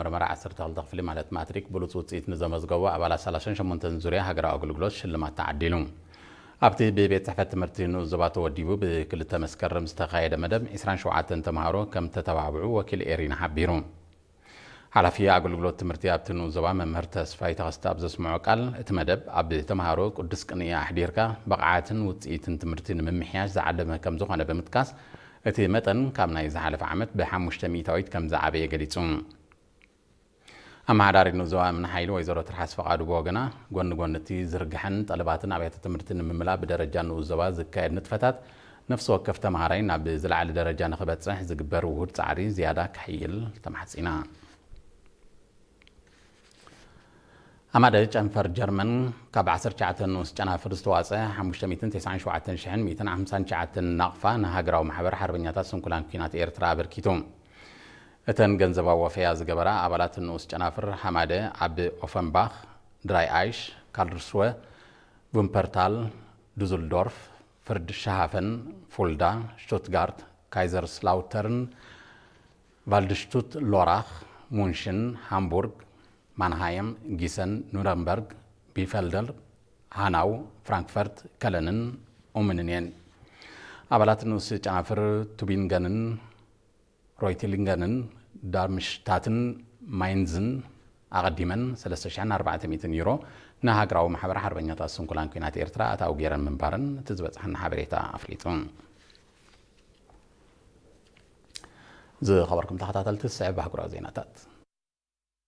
መጀመርያ ዓሰርተ ክልተ ክፍሊ ማለት ማትሪክ ብሉጽ ውጽኢት ንዘመዝገቡ ኣባላት ሰላሳን ሸሞንተን ዙርያ ሃገራዊ ኣገልግሎት ሽልማት ተዓዲሉ። ኣብቲ ብቤት ጽሕፈት ትምህርቲ ንኡስ ዞባ ተወዲቡ ብክልተ መስከረም ዝተኻየደ መደብ ዒስራን ሸውዓተን ተምሃሮ ከም ተተባብዑ ወኪል ኤሪና ሓቢሩ። ሓላፊ ኣገልግሎት ትምህርቲ ኣብቲ ንኡስ ዞባ መምህር ተስፋይ ተኸስተ ኣብ ዘስምዖ ቃል፣ እቲ መደብ ኣብ ተምሃሮ ቅዱስ ቅንኢ ኣሕዲርካ ብቕዓትን ውጽኢትን ትምህርቲ ንምምሕያሽ ዝዓለመ ከም ዝኾነ ብምጥቃስ፣ እቲ መጠን ካብ ናይ ዝሓለፈ ዓመት ብሓሙሽተ ሚእታዊት ከም ዝዓበየ ገሊጹ። ኣመሓዳሪት ንኡስ ዞባ እምኒ ሓይሊ ወይዘሮ ትርሓስ ፈቓዱ ብወገና፣ ጎኒ ጎኒ እቲ ዝርግሐን ጠለባትን ኣብያተ ትምህርቲ ንምምላእ ብደረጃ ንኡስ ዞባ ዝካየድ ንጥፈታት፣ ነፍሲ ወከፍ ተምሃራይ ናብ ዝለዓለ ደረጃ ንኽበጽሕ ዝግበር ውሁድ ጻዕሪ ዝያዳ ክሕይል ተማሕጺና። ኣማደ ጨንፈር ጀርመን ካብ ዓሰርተ ትሽዓተ ንኡስ ጨናፍር ዝተዋጸ ሓሙሽተ ሚእትን ተስዓን ሸውዓተን ሽሕን ሚእትን ሓምሳን ትሽዓተን ናቕፋ ንሃገራዊ ማሕበር ሓርበኛታት ስንኩላን ኲናት ኤርትራ ኣበርኪቱ። እተን ገንዘባዊ ወፈያ ዝገበራ ኣባላት ንኡስ ጨናፍር ሃማደ ኣብ ኦፈንባኽ፣ ድራይ ኣይሽ፣ ካልርስወ፣ ቡምፐርታል፣ ዱዝልዶርፍ፣ ፍርድሻሃፈን፣ ፉልዳ፣ ሽቱትጋርት፣ ካይዘርስላውተርን፣ ቫልድሽቱት ሎራኽ፣ ሙንሽን፣ ሃምቡርግ፣ ማንሃየም፣ ጊሰን፣ ኑረምበርግ፣ ቢፈልደር፣ ሃናው፣ ፍራንክፈርት፣ ከለንን ኡምንን እየን። ኣባላት ንኡስ ጨናፍር ቱቢንገንን ሮይቲሊንገንን ዳርምሽታትን ማይንዝን ኣቐዲመን ሰለስተ ሽሕን ኣርባዕተ ሚእትን ዩሮ ንሃገራዊ ማሕበር ሓርበኛታት ስንኩላን ኲናት ኤርትራ ኣታዊ ገይረን ምንባረን እቲ ዝበጽሐና ሓበሬታ ኣፍሊጡ። ዝኸበርኩም ተኸታተልቲ፣ ዝስዕብ ኣህጉራዊ ዜናታት።